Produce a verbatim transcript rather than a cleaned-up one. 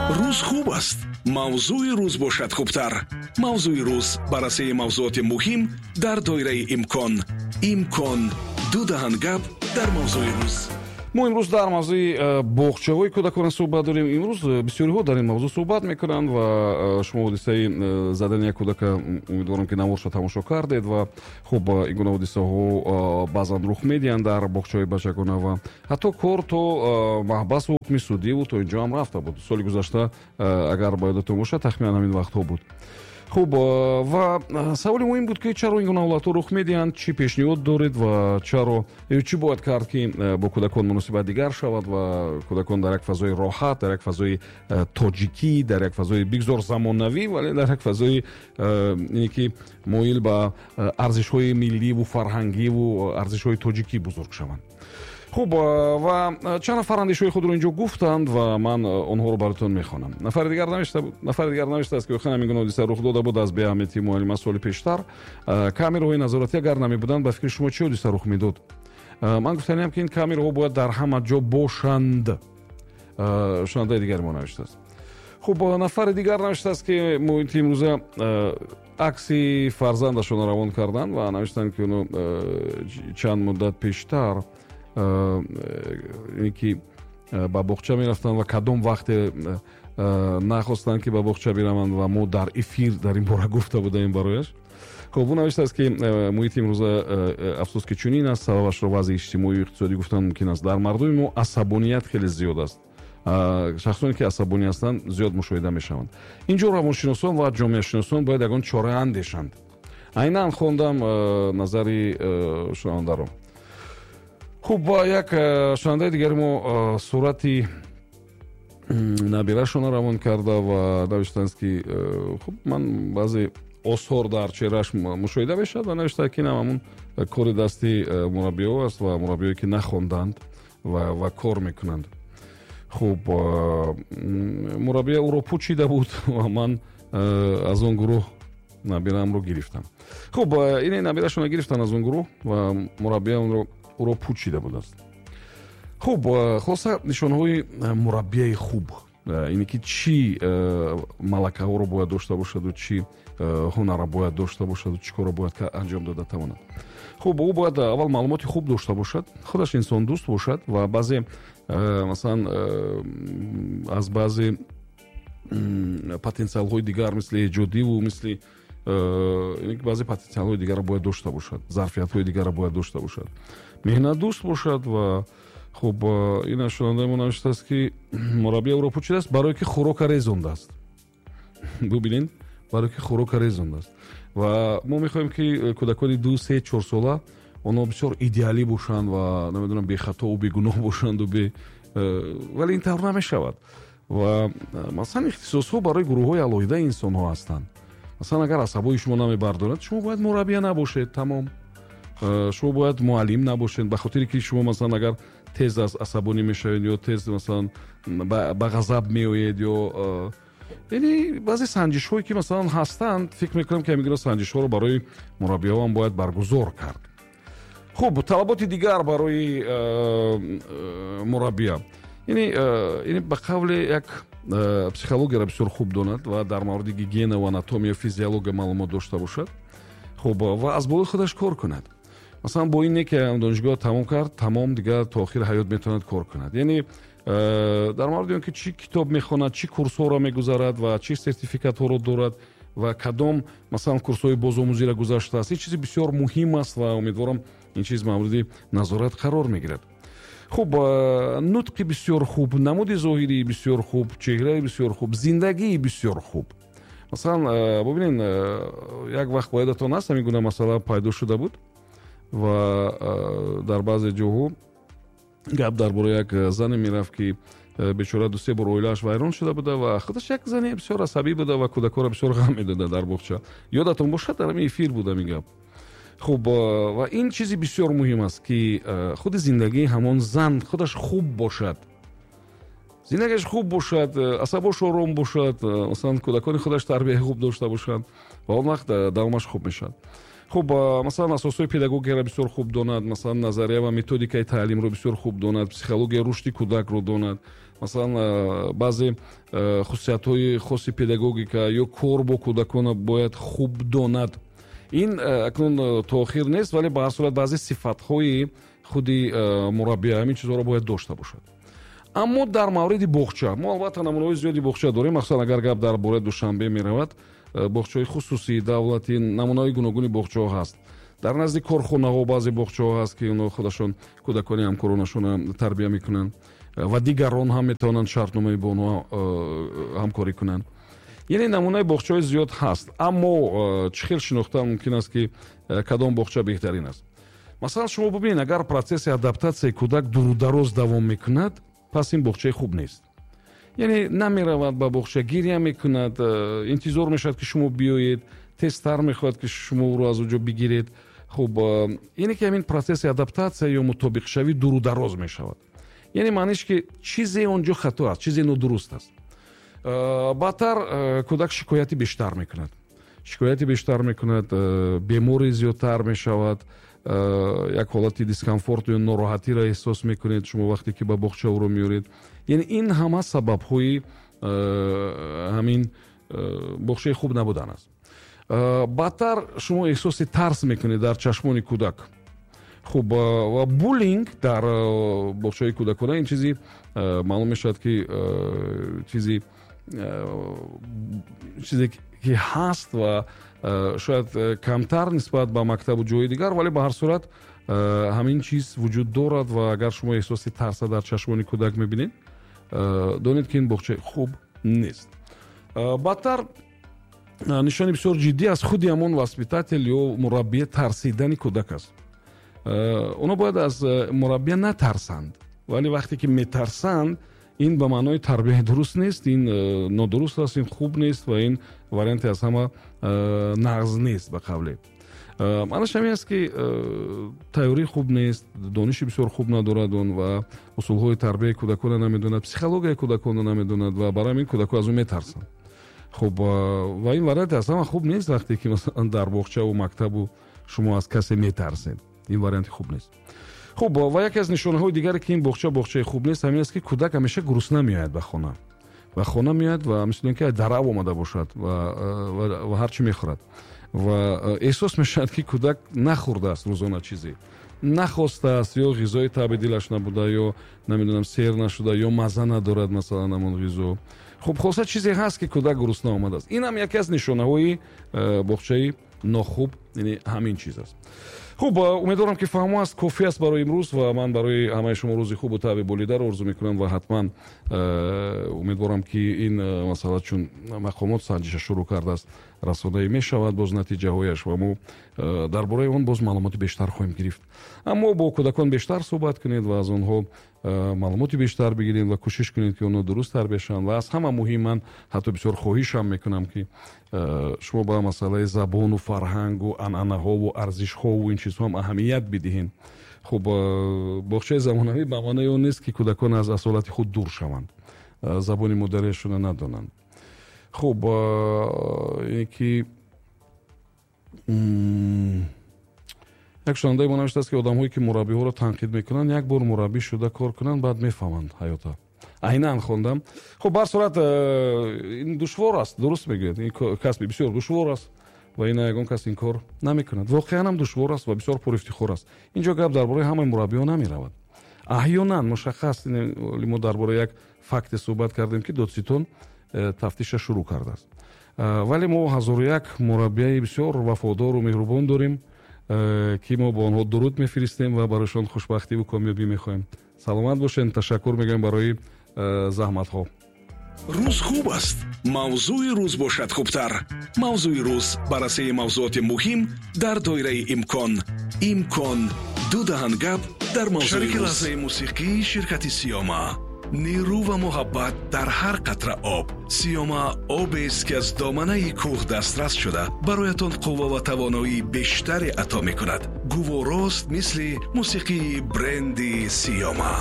Рӯз хуб аст, мавзӯи рӯз бошад хубтар. Мавзӯи рӯз: баррасии мавзуоти муҳим дар доираи имкон. Имкон: ду даҳан гап дар мавзӯи рӯз. Мо имрӯз дар мавзӯи э, боғчаҳои кӯдакона суҳбат дорем. Имрӯз э, бисёриҳо дар ин мавзӯъ суҳбат мекунанд ва э, шумо ҳодисаи задани як кӯдака, умедворам, ки наворша тамошо кардед. Ва хуб, ин гуна ҳодисаҳо баъзан рух медиҳанд дар боғчаҳои бачагона ва ҳатто кор то маҳбасу ҳукми судиву то инҷо ҳам рафта буд. Соли гузашта, агар ба ёдатон бошад, тахминан ҳамин вақтҳо буд. Хуб, ва саволи муҳим буд, ки чаро ин гуна ҳолатҳо рух медиҳанд, чӣ пешниҳод доред ва чаро, чӣ бояд кард, ки бо кӯдакон муносибат дигар шавад ва кӯдакон дар як фазои роҳат, дар як фазои тоҷикӣ, дар як фазои бигзор замонавӣ, вале дар як фазои ине ки моил ба арзишҳои милливу фарҳангиву арзишҳои тоҷикӣ бузург шаванд. Хуб, ва чанд нафар андешаҳои худро инҷо гуфтанд ва ман онҳоро баротон мехонам. Нафари дигар навишта нафари дигар навиштааст, ки охиран ҳамин гуна ҳодиса рух дода буд аз беаҳамияти муаллима соли пештар. Камераҳои назоратӣ агар намебуданд, ба фикри шумо, чӣ ҳодиса рух медод? Ман гуфтаниам, ки ин камераҳо бояд дар ҳама ҷо бошанд, шунавандаи дигари мо навиштааст. Хуб, нафари дигар навиштааст, ки муҳити имрӯза акси фарзандашонро равон карданд ва навиштанд, ки оно чанд муддат пештар ин ки ба боғча мерафтанд ва кадом вақте нахостанд, ки ба боғча бираванд, ва мо дар эфир дар ин бора гуфта будаем барояш. Хуб, ӯ навиштааст, ки муҳити имрӯза, афсӯс, ки чунин аст. Сабабашро вазъи иҷтимоию иқтисодӣ гуфтан мумкин аст. Дар мардуми мо асабоният хеле зиёд аст, шахсоне ки асабонӣ ҳастанд, зиёд мушоҳида мешаванд. Инҷо равоншиносон ва ҷомеашиносон бояд ягон чора андешанд. Айнан хондам назари шунавандаро. Хуб, як шунавандаи дигари мо сурати набирашонро равон карда ва навиштааст, ки хуб, ман баъзе осор дар чеҳрааш мушоҳида мешавад, ва навиштааст, ки инам ҳамун кори дасти мураббиҳо аст ва мураббиҳое ки нахонданд ва, ва кор мекунанд. Хуб, мураббия ӯро пучида буд ва ман аз он гурӯҳ набирамро гирифтам. Хуб, ине набирашонро гирифтанд аз он гурӯҳ ва мураббия онро ӯро пучида будааст. Хуб, хулоса, нишонҳои мураббияи хуб ине ки чӣ малакаҳоро бояд дошта бошаду чӣ ҳунарро бояд дошта бошаду чӣ корро бояд анҷом дода тавонад. Хуб, ӯ бояд аввал маълумоти хуб дошта бошад, худаш инсондӯст бошад ва баъзе, масалан, аз баъзе потенсиалҳои дигар, мисли эҷодиву мисли баъзе потенсиалҳои дигарро бояд дошта бошад, зарфиятҳои дигарро бояд дошта бошад, меҳнатдӯст бошад. Ва хуб, ин шунавандаи мо навиштааст, ки мураббия ӯро пучидааст, барое ки хӯрока резондааст. Бубинед, барое ки хӯрока резондааст. Ва мо мехоҳем, ки кӯдакони ду, се, чорсола онҳо бисёр идеалӣ бошанд ва, намедонам, бехатову бегуноҳ бошанду бе, вале ин тавр намешавад. Ва масалан, ихтисосҳо барои гурӯҳҳои алоҳидаи инсонҳо ҳастанд. Масалан, агар асабои шумо намебардорад, шумо бояд мураббия набошед, тамом. Шумо бояд муаллим набошед, ба хотире ки шумо, масалан, агар тез аз асабонӣ мешавед ё тез, масалан, ба ғазаб меоед ё, яъне, баъзе санҷишҳое ки, масалан, ҳастанд, фикр мекунам, ки ҳамин гуна санҷишҳоро барои мураббиҳо ҳам бояд баргузор кард. Хуб, талаботи дигар барои мураббия яъне яъне ба қавле як психологияро бисёр хуб донад ва дар мавриди гигиена ва анатомия, физиология маълумот дошта бошад. Хуб, ва аз болои худаш кор кунад. Масалан, бо ин не ки донишгоҳ тамом кард, тамом, дигар то охири ҳаёт метавонад кор кунад. Яъне дар мавриди он ки чӣ китоб мехонад, чӣ курсҳоро мегузарад ва чӣ сертификатҳоро дорад ва кадом, масалан, курсҳои бозомӯзиро гузаштааст, ин чизи бисёр муҳим аст ва умедворам, ин чиз мавриди назорат қарор мегирад. Хуб, нутқи бисёр хуб, намуди зоҳирии бисёр хуб, чеҳраи бисёр хуб, зиндагии бисёр хуб. Масалан, бубинед, як вақт, ба ёдатон аст, ҳамин гуна масъала пайдо шуда буд ва дар баъзе ҷоҳо гап дар бораи як зане мерафт, ки бечора дусе бор оилааш вайрон шуда буда ва худаш як зане бисёр асабӣ буда ва кӯдакҳоро бисёр ғам медода дар боғча. Ёдатон бошад, дар ҳамин эфир буд ҳамин гап. Хуб, ва ин чизи бисёр муҳим аст, ки худи зиндагии ҳамон зан худаш хуб бошад, зиндагиаш хуб бошад, асабош ором бошад, масалан, кӯдакони худаш тарбияи хуб дошта бошанд ва он вақт давомаш хуб мешавад. Хуб, масалан, асосҳои педагогияро бисёр хуб донад, масалан, назария ва методикаи таълимро бисёр хуб донад, психологияи рушди кӯдакро донад. Масалан, баъзе хусусиятҳои хоси педагогика ё кор бо кӯдакона бояд хуб донад. Ин акнун то охир нест, вале ба ҳар сурат баъзе сифатҳои худи мураббия ҳамин чизҳоро бояд дошта бошад. Аммо дар мавриди боғча мо албатта намунаҳои зиёди боғча дорем. Махсусан агар гап дар бораи Душанбе меравад, боғчаҳои хусусӣ, давлатӣ, намунаҳои гуногуни боғчаҳо ҳаст. Дар назди корхонаҳо баъзе боғчаҳо ҳаст, ки онҳо худашон кӯдакони ҳамкоронашонро тарбия мекунанд ва дигарон ҳам метавонанд шартномаи бо онҳо ҳамкорӣ кунанд. Яъне намунаи боғчаҳои зиёд ҳаст, аммо чӣ хел шинохтан мумкин аст, ки кадом боғча беҳтарин аст? Масалан, шумо бубинед, агар процесси адаптатсияи кӯдак дурудароз давом мекунад, пас ин боғчаи хуб нест. Яъне намеравад ба боғча, гиря мекунад, интизор мешавад, ки шумо биёед, тезтар мехоҳад, ки шумо ӯро аз он ҷо бигиред. Хуб, ине ки ҳамин процесси адаптатсия ё мутобиқшавӣ дурудароз мешавад, яъне маъниш ки чизе он ҷо хато аст, чизе нодуруст аст. Баъдтар кӯдак шикояти бештар мекунад, шикояти бештар мекунад, беморӣ зиёдтар мешавад, як ҳолати дискомфорт ё нороҳатиро эҳсос мекунед шумо вақте ки ба боғча ӯро меоред. Яъне ин ҳама сабабҳои ҳамин боғчаи хуб набудан аст. Баъдтар шумо эҳсоси тарс мекунед дар чашмони кӯдак. Хуб, ва буллинг дар боғчаҳои кӯдакона ин чизи маълум мешавад, ки чизи чизе ки ҳаст ва шояд камтар нисбат ба мактабу ҷои дигар, вале ба ҳар сурат ҳамин чиз вуҷуд дорад. Ва агар шумо эҳсоси тарса дар чашмони кӯдак мебинед, донед, ки ин боғчаи хуб нест. Баъдтар нишони бисёр ҷиддӣ аз худи ҳамон воспитатель ё мураббия тарсидани кӯдак аст. Онҳо бояд аз мураббия натарсанд, вале вақте ки метарсанд, ин ба маънои тарбияи дуруст нест, ин нодуруст аст, ин хуб нест ва ин варианте аз ҳама нағз нест. Ба қавле, маънаш ҳамин аст, ки тайёрии хуб нест, дониши бисёр хуб надорад он ва усулҳои тарбияи кӯдаконро намедонад, психологияи кӯдаконро намедонад ва барои ҳамин кӯдако аз ӯ метарсанд. Хуб, ва ин варианте аз ҳама хуб нест, вақте ки масалан дар боғчаву мактабу шумо аз касе метарсед, ин варианти хуб нест. Хуб, ва яке аз нишонаҳои дигаре, ки ин боғча боғчаи хуб нест, ҳамин аст, ки кӯдак ҳамеша гурусна меояд ба хона. Ба хона меояд ва мисли ин ки дарав омада бошад ва, ва, ва ҳар чӣ мехӯрад. Ва эҳсос мешавад, ки кӯдак нахӯрдааст рӯзона чизе, нахостааст, ё ғизои таби дилаш набуда, ё намедонам сер нашуда, ё мазза надорад масалан ҳамон ғизо. Хуб, хулоса чизе ҳаст, ки кӯдак гурусна омадааст. Ин ҳам яке аз нишонаҳои боғчаи нохуб, яъне ҳамин чиз аст. Хуб, умедворам, ки фаҳмо аст, кофӣ аст барои имрӯз ва ман барои ҳамаи шумо рӯзи хубу таъби болидаро орзу мекунам ва ҳатман умедворам, ки ин масъала, чун мақомот санҷиша шурӯъ кардааст, расонаӣ мешавад боз натиҷаҳояш ва мо дар бораи он боз маълумоти бештар хоҳем гирифт. Аммо бо кӯдакон бештар суҳбат кунед ва аз онҳо маълумоти бештар бигиред ва кӯшиш кунед, ки онҳо дуруст тарбия шаванд. Ва аз ҳама муҳим, ман ҳатто бисёр хоҳишам мекунам, ки шумо ба масъалаи забону фарҳангу анъанаҳову арзишҳову ин чизҳо ҳам аҳамият бидиҳед. Хуб, боғчаи замонавӣ ба маънои он нест, ки кӯдакон аз асолати худ дур шаванд, забони модариашонро надонанд. Хуб, ин ки як шунавандаи мо навиштааст, ки одамҳое, ки мураббиҳоро танқид мекунанд, як бор мураббӣ шуда кор кунанд, баъд мефаҳманд ҳаёта. Айнан хондам. Хуб, ба ҳар сурат ин душвор аст, дуруст мегӯяд, ин касби бисёр душвор аст ва ина ягон кас ин кор намекунад. Воқеан ҳам душвор аст ва бисёр пурэфтихор аст. Инҷо гап дар бораи ҳамаи мураббиҳо намеравад. Аҳёнан мушаххас мо дар бораи як факте суҳбат кардем, ки додситон тафтиша шурӯъ кардааст. Вале мо ҳазору як мураббияи бисёр вафодору меҳрубон дорем, ки мо бо онҳо дуруд мефиристем ва барояшон хушбахтиву комёбӣ мехоҳем. Саломат бошед, ташаккур мегӯем барои заҳматҳо. Рӯз хуб аст, мавзӯи рӯз бошад хубтар. Мавзӯи рӯз, баррасии мавзӯоти муҳим дар доираи имкон. Имкон ду даҳан гап дар мавзӯи шарики лаҳзаи мусиқӣ ширкати Сиёма. Нерӯ ва муҳаббат дар ҳар қатра об. Сиёма обест, ки аз доманаи кӯҳ дастрас шуда бароятон қувва ва тавоноии бештаре ато мекунад. Гуворост мисли мусиқии бренди Сиёма.